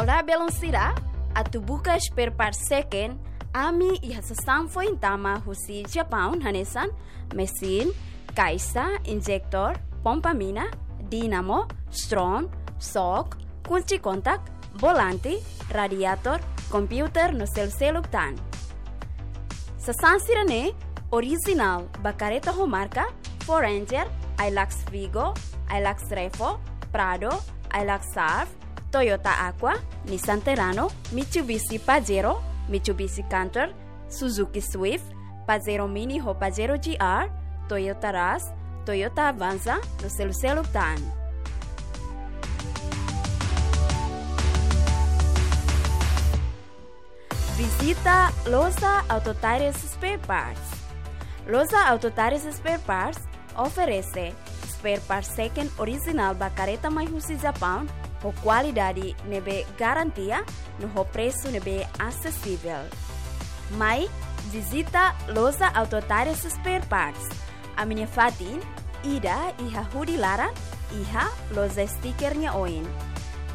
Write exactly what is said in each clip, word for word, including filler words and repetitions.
Olá, belun sira, atu buka spare part second, ami iha sasán foin tama husi Japaun hanesan mesin, kaixa, injektór, pompa mina, dínamo, stron, xok, kunci kontak, volante, radiator, kompiuter no seluk-seluk tan. Sasán sira-ne'e orijinál ba karreta ho marka Ford Ranger, Hilux Vigo, Hilux Revo, Prado, Hilux Surf, Toyota Aqua, Nissan Terrano, Mitsubishi Pajero, Mitsubishi Canter, Suzuki Swift, Pajero Mini ho Pajero G R, Toyota Rush, Toyota Avanza no seluk-seluk tan. Vizita Loja Auto Tires Spare Parts. Loja Auto Tires Spare Parts oferese spare part second orijinál ba karreta mai husi Japaun ho kualidade ne'ebé garantia no ho presu ne'ebé asesivel. Mai vizita Loja Auto Tires Spare Parts. Ami-nia fatin ida iha hudi laran, iha loja sticker nia oin.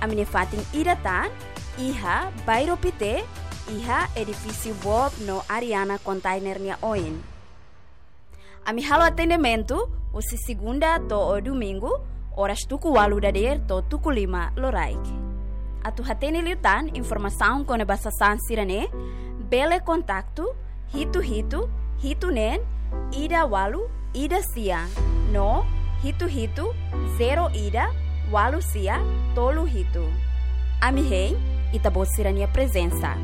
Ami-nia fatin ida tan iha Bairro Pité, iha edifísiu Bob no Ariana Container nia oin. Ami halo atendimentu husi segunda to'o domingu, oras tuku ualu dadeer to'o tuku lima loraik. Atu hatene liután informasaun kona-ba sasán sira-ne'e, bele kontaktu hitu hitu hitu neen ida ualu ida sia no hitu hitu zero ida ualu sia tolu hitu. Ami hein ita-boot sira-nia prezensa.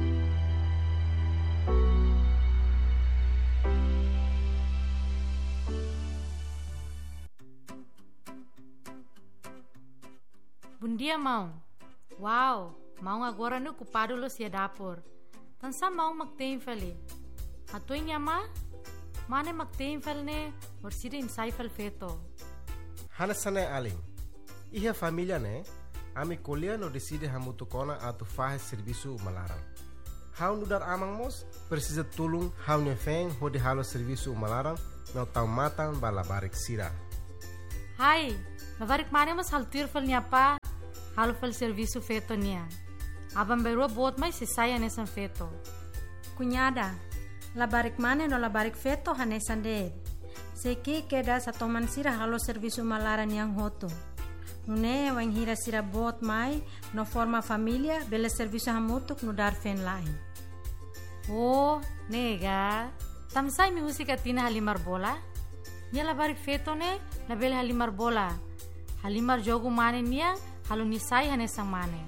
Bondia, maun. Wow, maun agora ne'e okupadu loos iha dapur. Tansá maun mak te'in fali? Hato'o nia mane, mane mak te'in fali ne'e, orsida imi sai fali feto. Hanesan ne'e alin. Iha família ne'e, ami ko'alia no deside hamutuk ona atu fahe servisu uma laran. Ha'u nu'udar aman mós presiza tulun ha'u-nia feen hodi halo servisu uma laran no tau matan ba labarik sira. Hai, labarik mane mós halo tuir fali nia apá, halo fali servisu feto nian. Aban-bainrua boot mai sei sai hanesan feto. Kuñada, labarik mane no labarik feto hanesan de'it. Sei ki'ik kedas atu toman sira halo servisu uma laran nian hotu. Nune'e wainhira sira boot mai no forma família, bele servisu hamutuk nu'udar feen-la'en. Oh, ne'e ka. Tansá imi husik Atina halimar bola? Nia labarik feto ne'e labele halimar bola. Halimar jogu mane nian, halo nia sai hanesan mane.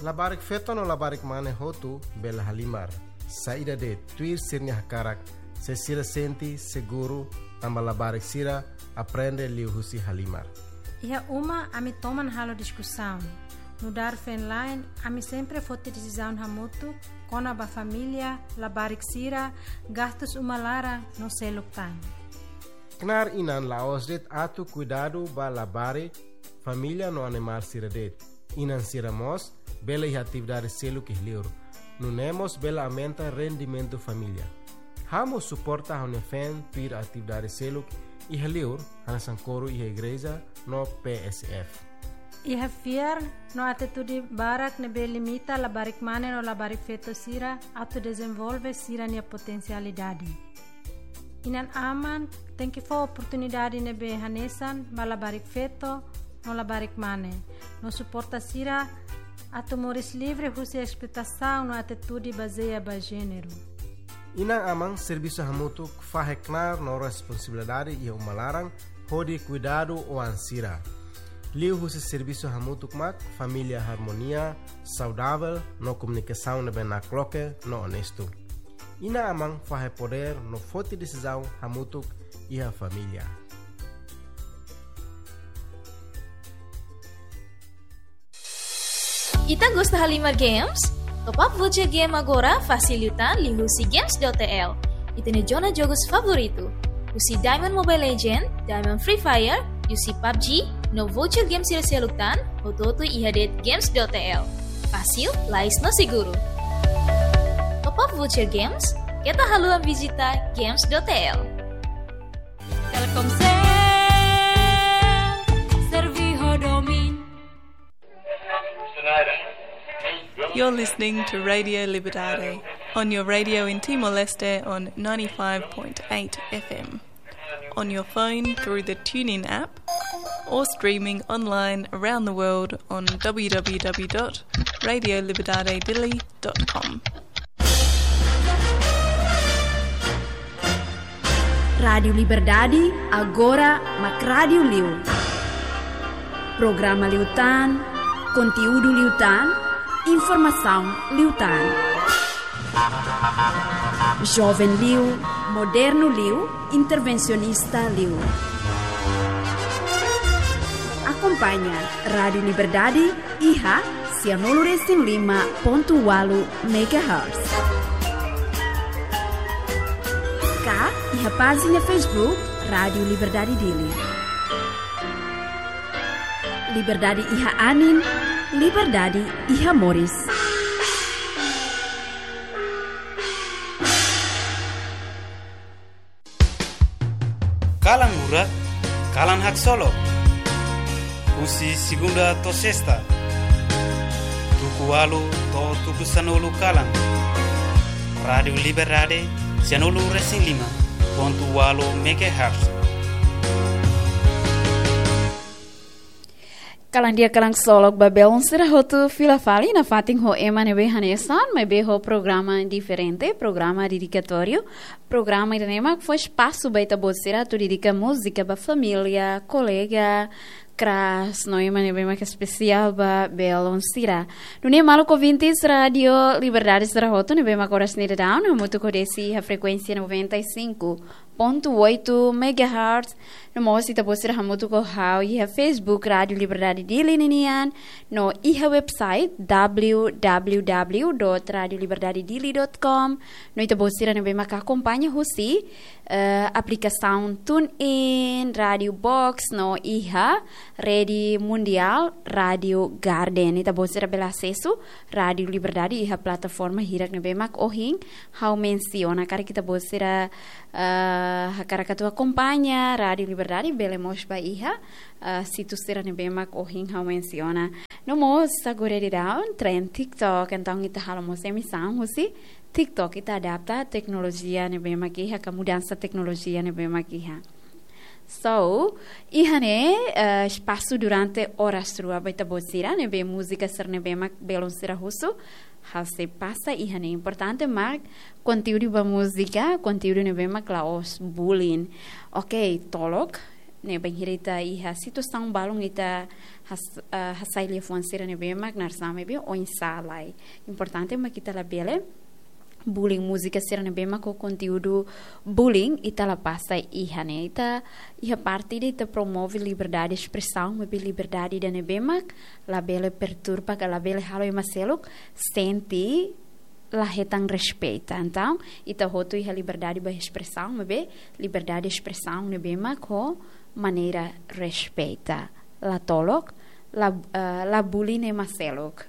Labarik feto no labarik mane hotu bele halimar. Saida de'it, tuir sira-nia hakarak, se sira sente seguru, tanba labarik sira aprende liuhusi halimar. Iha uma ami toman halo diskusaun. Nu'udar feen-la'en, ami sempre foti desizaun hamutuk kona-ba família, labarik sira, gastus uma laran no seluk tan. Knaar inan la'ós de'it atu kuidadu ba labarik, família no animál sira de'it. Inan sira mós bele iha atividade seluk iha liur. Nune'e mós bele aumenta rendimentu família. Ha'u mós suporta ha'u-nia feen tuir atividade seluk iha liur, hanesan koru iha igreja no P S F. Iha fiar no atitude barak ne'ebé limita labarik mane no labarik feto sira atu dezenvolve sira-nia potensialidade. Inan-aman tenke fó oportunidade ne'ebé hanesan ba labarik feto no labarik mane, no suporta sira atu moris livre husi esploitasaun no atitude bazeia ba jéneru. Inan-aman servisu hamutuk fahe knaar no responsabilidade iha uma laran hodi kuidadu oan sira. Liuhusi servisu hamutuk mak família harmonia, saudavel no komunikasaun ne'ebé nakloke no onestu. Inan-aman fahe podér no foti desizaun hamutuk iha família. Ita gosta halimar games? Top up voucher game agora fasil liután liuhusi games dot T L. Ita-nia zona jogus favoritu. Husi Diamond Mobile Legend, Diamond Free Fire, husi PUBG, no voucher games sira seluk tan, hotu-hotu iha de'it games dot T L. Fasil, lais no seguru. Top up voucher games, keta haluha vizita games dot T L. Telkomsel, servi ho domin. You're listening to Radio Liberdade on your radio in Timor-Leste on ninety-five point eight F M, on your phone through the TuneIn app, or streaming online around the world on w w w dot radio liberdade dili dot com. Rádiu Liberdade, agora mak rádiu liu. Programa liután, konteúdu liután, informasaun liután. Joven liu, modernu liu, intervensionista liu. Akompaña Rádiu Liberdade iha sianulu resin lima pontu ualu megahertz. Ka iha pájina Facebook Rádiu Liberdade Dili. Liberdade iha anin, liberdade iha moris. Kalan Hurak, Kalan Haksolok. Husi segunda to'o sesta, tuku ualu to'o tuku sanulu kalan. Rádiu Liberdade, sianulu resin lima pontu ualu megahertz. Kalan di'ak, kalan haksolok ba belun sira hotu, fila fali nafatin ho ema ne'ebé hanesan, maibé ho programa diferente, programa dedikatóriu, programa ida-ne'e mak fó espasu ba ita-boot sira atu dedika múzika ba família, kolega, kras, no ema ne'ebé mak espesiál ba belun sira. Nune'e maluk ouvintes Rádiu Liberdade sira hotu, ne'ebé mak oras ne'e daudaun hamutuk ho Desi iha frekuénsia noventa e cinco ponto oito megahertz, no mós ita-boot sira hamutuk ho ha'u iha Facebook Rádiu Liberdade Dili ninian, no iha website w w w dot radio liberdade dili dot com, no ita-boot sira ne'ebé mak akompaña husi, eh, aplikasaun TuneIn, Radio Box, no iha rede mundiál Rádiu Garden. Ita-boot sira bele asesu Rádiu Liberdade iha plataforma hirak ne'ebé mak ohin ha'u mensiona. Karik ita-boot sira, eh, hakarak atu akompaña Rádiu Liberdade, bele mós ba iha, eh, situ sira ne'ebé mak ohin ha'u mensiona. No mós agora daudaun tren TikTok, entaun ita halo mós emisaun husi TikTok, ita adapta teknolojia ne'ebé mak iha, ka mudansa teknolojia ne'ebé mak iha. So, iha ne'e, eh, espasu durante oras rua ba ita-boot sira ne'ebé múzika sira ne'ebé mak belun sira husu, ha'u sei pasa iha ne'e. Importante mak konteúdu ba múzika, konteúdu ne'ebé mak la'ós bullying. Ok, tolok, ne'e bainhira ita iha situasaun balun ita has-, eh, hasai liafuan sira ne'ebé mak narsame be oinsá lai. Importante mak ita labele bullying múzika sira ne'ebé mak ho konteúdu bullying, ita la pasa iha ne'e. Ita iha parte ida ita promove liberdade espresaun, maibé liberdade ida ne'ebé mak labele perturba, ka labele halo ema seluk sente la hetan respeita. Entaun, ita hotu iha liberdade ba espresaun, maibé liberdade espresaun ne'ebé mak ho maneira respeita. La tolok, la, eh, la bullying ema seluk.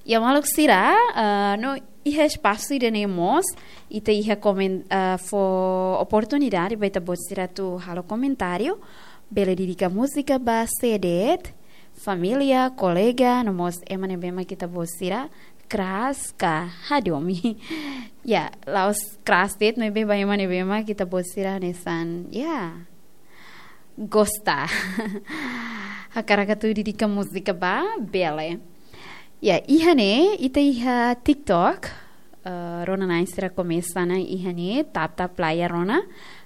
Ya maluk sira, eh, no iha espasu ida-ne'e mós, ita iha komen-, eh, fó oportunidade ba ita-boot sira atu halo komentáriu, bele dedika múzika ba sé de'it, família, kolega, no mós ema ne'ebé mak ita-boot sira kras ka hadomi. Ya, la'ós kras de'it, maibé ba ema ne'ebé mak ita-boot sira hanesan, ya, gosta. Hakarak atu dedika múzika ba, bele. Ya, iha ne'e, ita iha TikTok, eh, rona-na'in sira komesa ona iha ne'e, tap tap layar rona.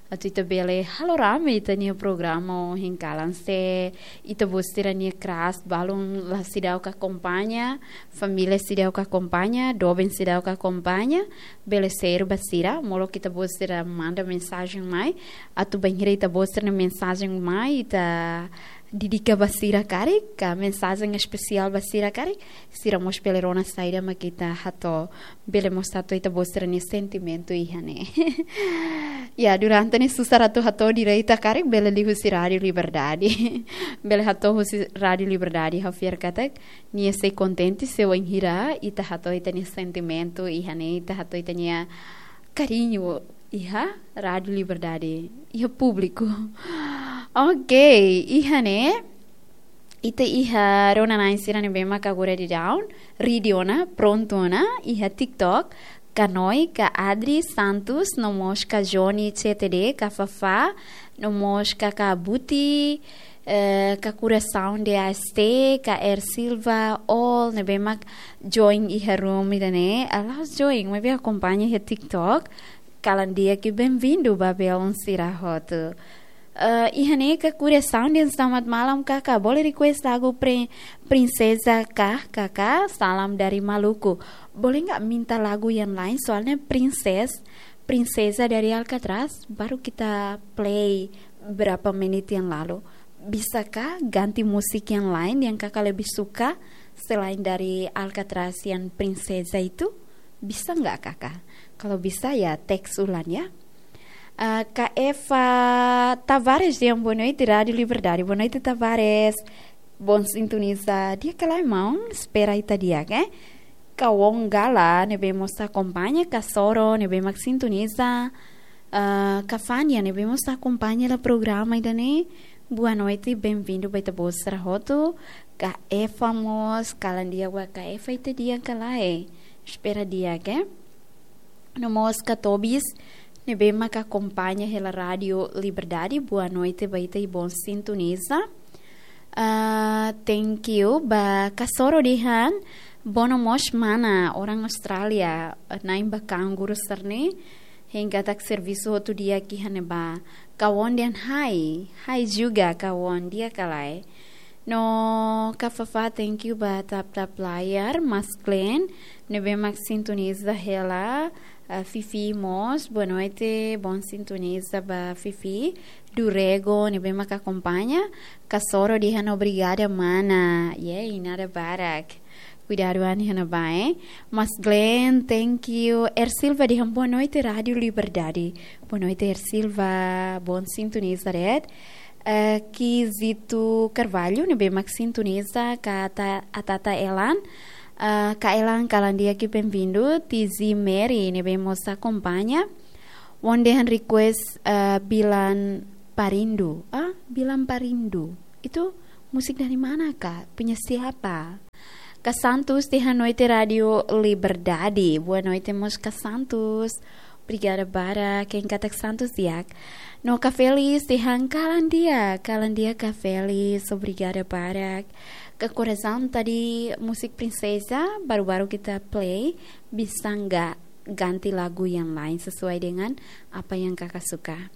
Atu ita bele halo rame ita-nia programa ohin kalan, se ita-boot sira-nia kras balun la seidauk akompaña, família seidauk akompaña, doben seidauk akompaña, bele share ba sira, molok ita-boot sira manda mensajen mai, atu bainhira ita-boot sira-nia mensajen mai, ita dedika ba sira karik, ka mensajen espesiál ba sira karik, sira mós bele rona saida mak ita hato'o, bele mós hato'o ita-boot sira-nia sentimentu iha ne'e. Ya, durante ne'e susar atu hato'o direta karik, bele liuhusi Rádiu Liberdade. Bele hato'o husi Rádiu Liberdade, ha'u fiar katak nia sei kontente se wainhira ita hato'o ita-nia sentimentu iha ne'e, ita hato'o ita-nia kariñu iha Rádiu Liberdade, iha públiku. Ok, iha ne'e, Ita iha rona-na'in sira ne'ebé mak agora daudaun ready ona, prontu ona, iha TikTok, ka Noi, ka Adri Santos, no mós ka Johnny C T D, ka Fafá, no mós ka, ka Buti, eh, ka Kurasaun D A S T, ka Er Silva, all ne'ebé mak join iha room ida-ne'e, la'ós join, maibé akompaña iha TikTok, kalan di'ak i bem-vindo ba belun sira hotu. Eh, iha ne'e ka Kurasaun dehan selamat malam, kaka. Boleh request lagu Pri-, Princesa kah, kaka? Salam dari Maluku. Boleh nggak minta lagu yang lain? Soalnya Princess, Princesa dari Alcatraz baru kita play berapa menit yang lalu. Bisakah ganti musik yang lain yang kaka lebih suka selain dari Alcatraz yang Princesa itu? Bisa nggak, kaka? Kalau bisa ya teks ulang ya. Ah, Kak Eva Tavares dehan boa noite, Rádio Liberdade. Boa noite, Tavares. Bom sintoniza. Di'ak ka lae, maun? Espera ita di'ak, eh? Ka Wong Gala, ne'ebé mós akompaña, ka Soro, ne'ebé mak sintoniza. Ah, ka Fania, ne'ebé mós akompaña hela programa ida-ne'e. Boa noite, bem-vindo ba ita-boot sira hotu. Kak Eva mós, kalan di'ak ba Kak Eva, ita di'ak ka lae? Espera di'ak, eh? No mós ka Tobis, ne'ebé mak akompaña hela Rádio Liberdade, boa noite ba ita i bom sintoniza. Ah, thank you ba Kasoro dehan, boa noite mós mana, orang Austrália, na'in ba kangur serne, hein katak servisu hotu di'ak iha ne'ebá. Ka Won dehan hai, hai juga ka Won, di'ak ka lae? No, Kak Fafá, thank you ba tap-tap layar, Mas Glenn, ne'ebé mak sintoniza hela, ah, Fifi mós, boa noite, bom sintoniza ba Fifi, Durego, ne'ebé mak akompaña, Kasoro dehan obrigada, mana, yay, nada barak. Kuidadu an iha ne'ebá, eh. Mas Glenn, thank you. Er Silva dehan boa noite, Rádio Liberdade. Boa noite, Er Silva. Bom sintoniza, red. Eh, Kizito Carvalho, ne'ebé mak sintoniza, ka ta-, Atata Elan. Eh, ka Elan, kalan di'ak i bem-vindo. Tizi Mary, ne'ebé mós akompaña. Won dehan request, eh, Bilan Parindu. Ah, Bilan Parindu. Itu musik dari mana, Kak? Punya siapa? Kak Santos dehan boa noite Rádio Liberdade. Boa noite mós Kak Santos. Obrigada barak, hein katak Santos di'ak. No Kak Felis dehan kalan di'ak, kalan di'ak Kak Felis. Obrigada barak. Kak Coração, tadi musik Princesa, baru-baru kita play, bisa nggak ganti lagu yang lain sesuai dengan apa yang kaka suka?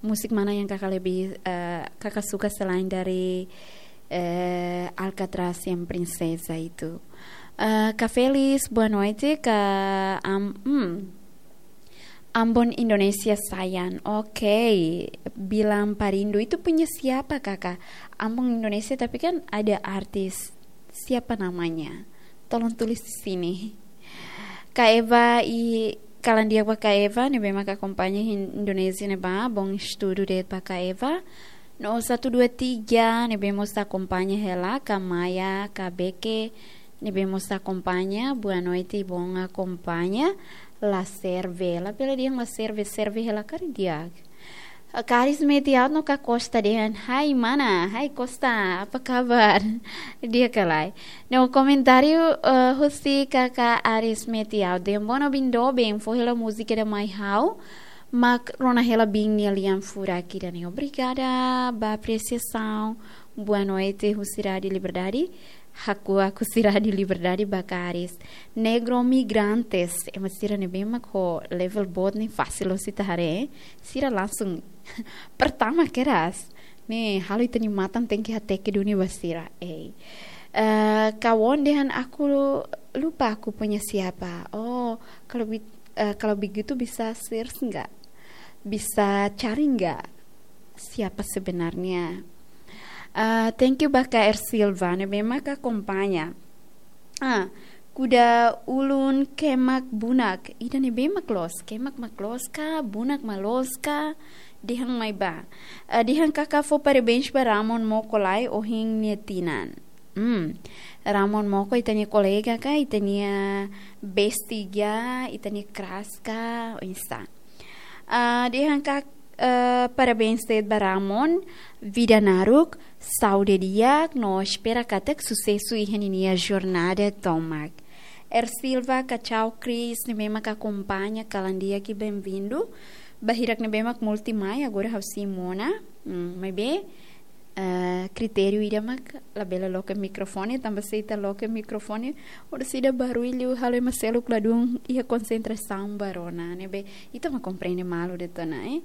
Musik mana yang kaka lebih, eh, kaka suka selain dari, eh, Alcatraz yang Princesa itu? Eh, Kak Felis, boa noite, Kak Am-, hmm. Ambon Indonesia sayang. Oke, Bilan Parindu itu punya siapa, kaka? Ambon Indonesia, tapi kan ada artis. Siapa namanya? Tolong tulis di sini. Kak Eva i kalan di'ak ba Kak Eva, ne'ebé mak akompaña iha Indonézia ne'ebá, bom estudu de'it ba Kak Eva. No satu dua tiga, ne'ebé mós akompaña hela, Kak Maya, Kak Beke, ne'ebé mós akompaña, boa noite, bom akompaña, la serve, labele dehan la serve, serve hela karik di'ak. Kak Aris Metiaud no Kak Costa dehan, hai mana, hai Costa, apa kabar? Di'ak ka lae? No komentáriu, eh, husi Kak Aris Metiaud dehan, bono bindo ben, fó hela múzika ida mai ha'u, mak rona hela biin nia lian furak ida-ne'e. Obrigada ba apresiasaun. Boa noite husi Rádio Liberdade. Hakuak husi Rádio Liberdade ba Kak Aris. Negro Migrantes. Ema sira ne'ebé mak ho level boot ne'e fasil loos ita haree. Sira langsung pertama keras. Ne'e, halo ita-nia matan tenke hateke duni ba sira. Ei. Eh, Kak Won dehan aku lupa aku punya siapa. Oh, kalau bi-, eh, kalau begitu bisa search nggak? Bisa cari nggak? Siapa sebenarnya? Ah, thank you ba Kak Er Silva, ne'ebé mak akompaña. Ah, Kuda Ulun Kemak Bunak. Ida-ne'ebé mak loos, Kemak mak loos ka, Bunak mak loos ka, dehan mai bá. Ah, dehan kaka fó parabéns ba Ramon Moko lai ohin nia tinan. Hmm. Ramon Moko ita-nia kolega ka, ita-nia bestie ka, ita-nia crush ka, oinsá. Ah, dehan kak-, Eh, parabéns de'it ba Ramon, vida naruk, saúde di'ak, no espera katak susesu iha ninia jornada tomak. Er Silva, Kacau Cris, ne'ebé mak akompaña, kalan di'ak i benvindu. Ba hirak ne'ebé mak multi mai, agora ha'u sei mona. Hmm, maibé, eh, kritériu ida mak labele loke mikrofone, tanba se ita loke mikrofone, orsida barullu halo ema seluk ladún iha konsentrasaun ba rona, ne'ebé ita mak komprende malu de'it ona, eh.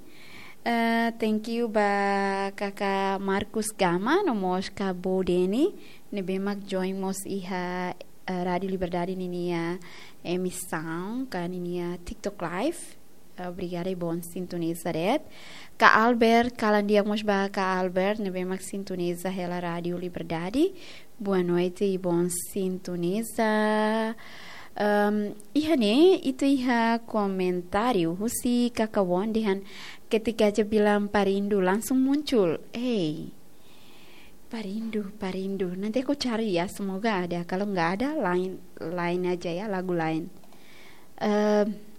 Eh, thank you ba kaka Marcus Gama, no mós kaka Bo Deni, ne'ebé mak join mós iha, eh, Rádio Liberdade ninia emisaun, ka ninia TikTok Live. Obrigada i bon sintoniza de'it. Kaka Albert, kalan di'ak mós ba kaka Albert, ne'ebé mak sintoniza hela Rádio Liberdade. Boa noite i bon sintoniza. Ehm, iha ne'e, ita iha komentáriu husi kaka Won dehan ketika aja bilang parindu langsung muncul. Ei, parindu, parindu. Nanti aku cari ya, semoga ada. Kalau nggak ada, lain, lain aja ya, lagu lain. Ehm,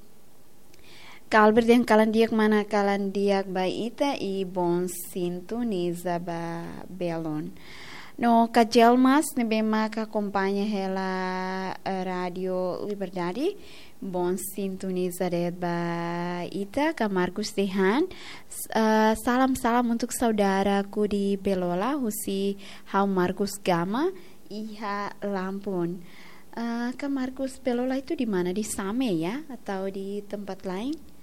Kaka Albert dehan kalan di'ak mana, kalan di'ak ba ita i bon sintoniza ba belun. No kaka Jelmas ne'ebé mak akompaña hela, eh, Rádio Liberdade, bon sintoniza de'it ba ita, kaka Marcus dehan, s-, eh, salam-salam untuk saudaraku di Belola, husi ha'u Marcus Gama, iha Lampun. Eh, kaka Marcus, Belola itu di mana? Di Same ya? Atau di tempat lain?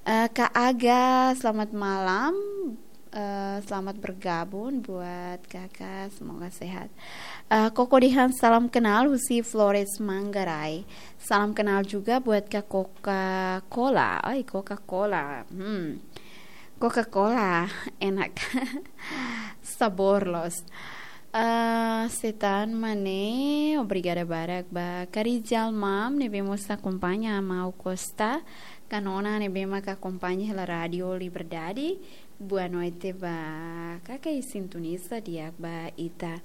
Eh, kaka Aga, selamat malam. Eh, selamat bergabung buat kakak, semoga sehat. Eh, Koko dehan salam kenal husi Flores Manggarai. Salam kenal juga buat kaka Coca-Cola. Ai, Coca-Cola. Hmm. Coca-Cola, enak. Sabór loos. Eh, Setan Mane, obrigada barak ba kaka Rizal Mam, ne'ebé mós akompaña Amau Costa, kaka Nona ne'ebé mak akompaña hela Rádio Liberdade. Boa noite ba kaka i sintoniza di'ak ba ita.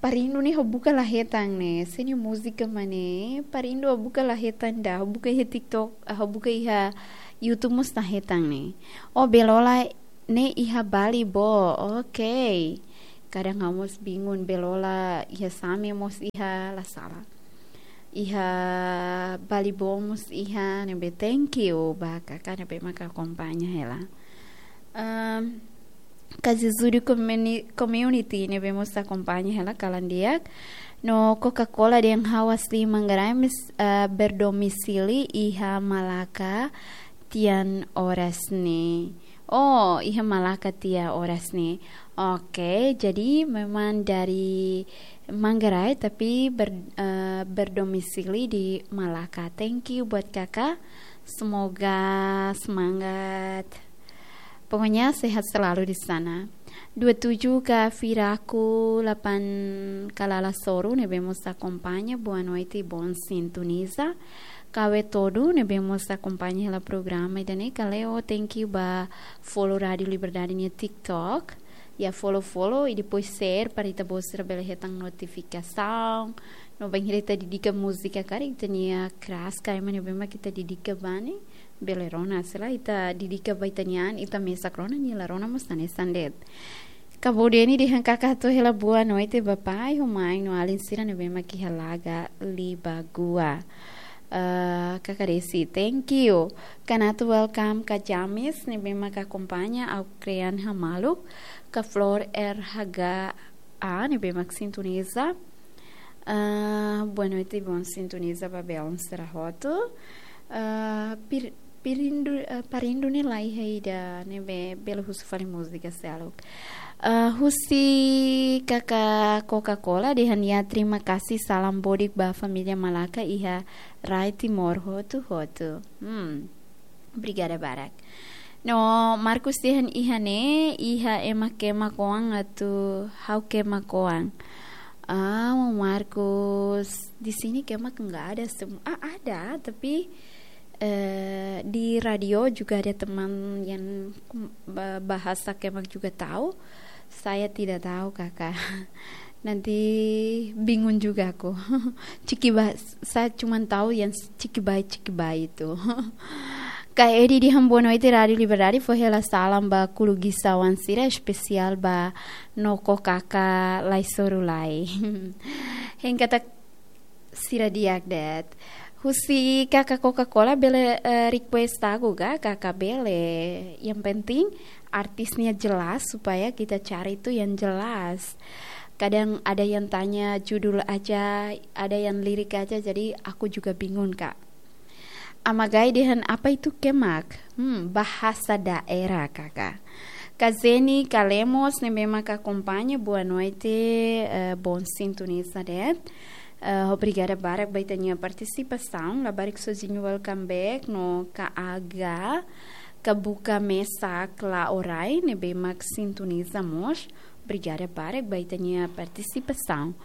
Parindu ne'e ha'u buka la hetan ne'e, se nia múzika mak ne'e, parindu ha'u buka la hetan ida, ha'u buka iha TikTok, ha'u buka iha YouTube mós la hetan ne'e. Oh, Belola ne'e iha Bali bo. Oke. Kadang ha'u mós bingung, Belola iha Same mós iha, la sala. Iha Bali bo mós iha, ne'ebé thank you ba kaka ne'ebé mak akompaña hela. Ehm, kaka Zezudi Communi-, Community ne'ebé mós akompaña hela, kalan di'ak. No Coca-Cola dehan ha'u asli Manggarai, mas, eh, berdomisili iha Malaka tiha oras ne'e. Oh, iha Malaka tiha oras ne'e. Oke, jadi memang dari Manggarai tapi ber-, eh, berdomisili di Malaka. Thank you buat kaka. Semoga semangat. Pokoknya sehat selalu di sana. Dua tujuh kaka Firaku lapan Kalala Soru ne'ebé mós akompaña, boa noite, bon sintoniza. Kaka Wetodu ne'ebé mós akompaña hela programa ida-ne'e, kaka Leo, thank you ba follow Rádio Liberdade nia TikTok. Ya follow-follow i depois share para ita-boot sira bele hetan notifikasaun. No bainhira ita dedika múzika karik ita-nia kras ka ema ne'ebé mak ita dedika ba ne'e, bele rona, se lae ita dedika ba ita-nia an, ita mesak rona, nia la rona mós hanesan de'it. Kaka Bo Deni dehan kaka hato'o hela boa noite ba pai, ho mãe no alin sira ne'ebé mak iha Laga Libagua. Eh, kaka Desi, thank you. Kaka Natu, welcome. Kaka James ne'ebé mak akompaña, ha'u Krian Hamaluk. Kaka Flor R H G A ne'ebé mak sintoniza. Ah, boa noite, bon sintoniza ba belun sira hotu. Ah, pir-, pirindu, ah, parindu ne'e la iha ida, ne'ebé bele husu fali múzika seluk. Ah, husi kaka Coca-Cola dehan ya, terima kasih, salam bodik ba família Malaka iha rai Timor hotu-hotu. Hmm. Obrigada barak. No Marcus dehan iha ne'e, iha ema kemak oan atu ha'u kemak oan. Ah, Marcus, di sini kemak enggak ada sem-, ah, ada, tapi, eh, di radio juga ada teman yang ba-, bahasa kemak juga tahu. Saya tidak tahu, kaka. Nanti bingung juga aku. Cikibai, saya cuman tahu yang cikibai-cikibai itu. Ka Edi dehan boa noite Rádio Liberdade, fó hela salam ba kulugisauan sira, espesiál ba Noko Kaka Laisoru Lai. Hein katak sira di'ak de'it. Husi Kaka Coca-Cola bele, eh, request lagu ka, Kaka bele. Yang penting artisnya jelas supaya kita cari itu yang jelas. Kadang ada yang tanya judul aja, ada yang lirik aja, jadi aku juga bingung, Kak. Amagai dehan apa itu kemak? Hmm, bahasa daerah, Kaka. Ka Zeni Kalemos ne'ebé mak akompaña, boa noite, eh, bom sintoniza de'it. Eh, obrigada barak ba ita-nia partisipasaun. Labarik Sozinho, welcome back. No Ka Aga, Ka Buka Mesak La Orai ne'ebé mak sintoniza mós. Obrigada barak ba ita-nia partisipasaun.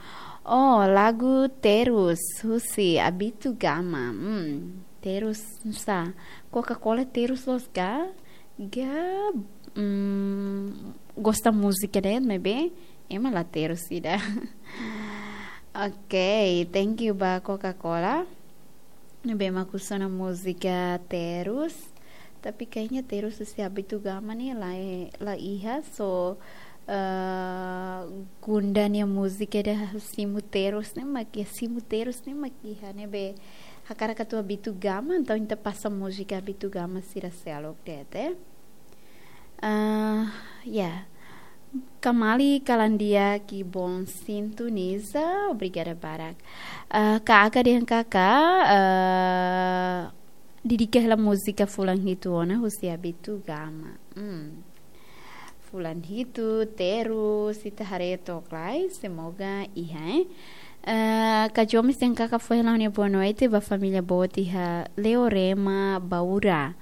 Oh, lagu Terus, husi Abito Gama. Hmm, Terus, sá, Coca-Cola Terus loos ka? Ka, hmm, gosta múzika de'it, ne'ebé ema la terus ida. Ok, thank you ba Coca-Cola. Ne'ebé mak husu ona múzika Terus. Tapi kayaknya Terus husi Abito Gama ne'e la, la iha, so, eh, Gunda nia múzika ida Simu Terus ne'e mak iha, Simu Terus ne'e mak iha, ne'ebé hakarak atu Abito Gama, entaun ita pasa múzika Abito Gama sira seluk de'it. Ah, ya. Kamali kalan di'ak, bom sintoniza, obrigada barak. Ah, Ka Aga dehan Kaka, ah, dedika hela múzika Fulan Hitu ona husi Abito Gama. Hmm. Fulan Hitu, Terus, ita haree took lai, semoga iha, eh. Eh, Ka Jomes dehan Kaka fó hela ha'u-nia boa noite ba família boot iha Leorema, Baura.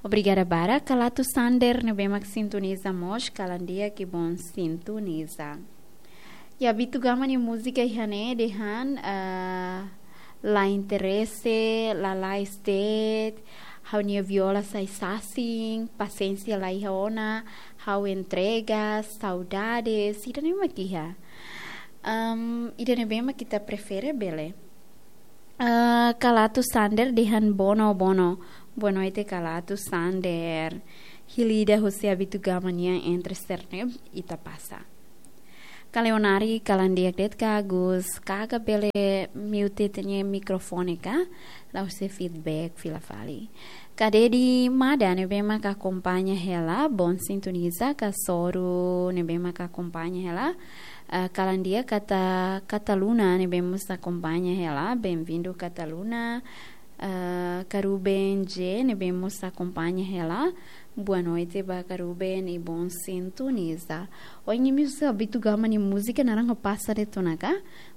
Obrigada barak. Ka Lato Sander ne'ebé mak sintoniza mós, kalan di'ak, bom sintoniza. Ya, Abito Gama nia múzika iha ne'e dehan, eh, la interese, lalais de'it, ha'u-nia viola sai sasin, pasiénsia la iha ona, ha'u entrega, saudades, ida-ne'e mak iha. Em, ida-ne'ebé mak ita prefere bele. Eh, Ka Lato Sander dehan bono, bono. Boa noite, Ka Lato Sander. Hili ida husi Abito Gama nian entre sernep ita pasa. Ka Leonari, kalan di'ak de'it Ka Agus, Kaka bele mute ita-nia mikrofone ka, la'ós feedback fila fali. Ka Dedi Mada ne'ebé mak akompaña hela, bom sintoniza, Ka Soru ne'ebé mak akompaña hela, eh, kalan di'ak, Kata, Kataluna ne'ebé mós akompaña hela, bem-vindo Kataluna. Ah, Ka Ruben J ne'ebé mós akompaña hela. Boa noite ba Ka Ruben i bom sintoniza. Ohin imi husu Abito Gama nia múzika, naran ha'u pasa de'it ona ka?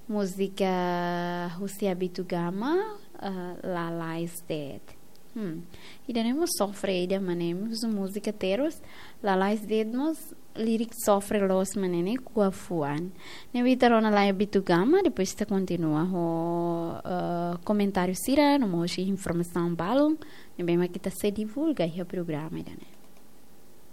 Múzika husi Abito Gama, ah, Lalais de'it. Hmm. Ida-ne'e mós sofre ida, maibé imi husu múzika Terus, Lalais de'it mós lirik sofre loos mak ne'e, ne'e ko'a fuan. Ne'ebé ita rona lai Abito Gama, depois ita kontinua ho, eh, komentáriu sira, no mós informasaun balun ne'ebé mak ita sei divulga iha programa ida-ne'e.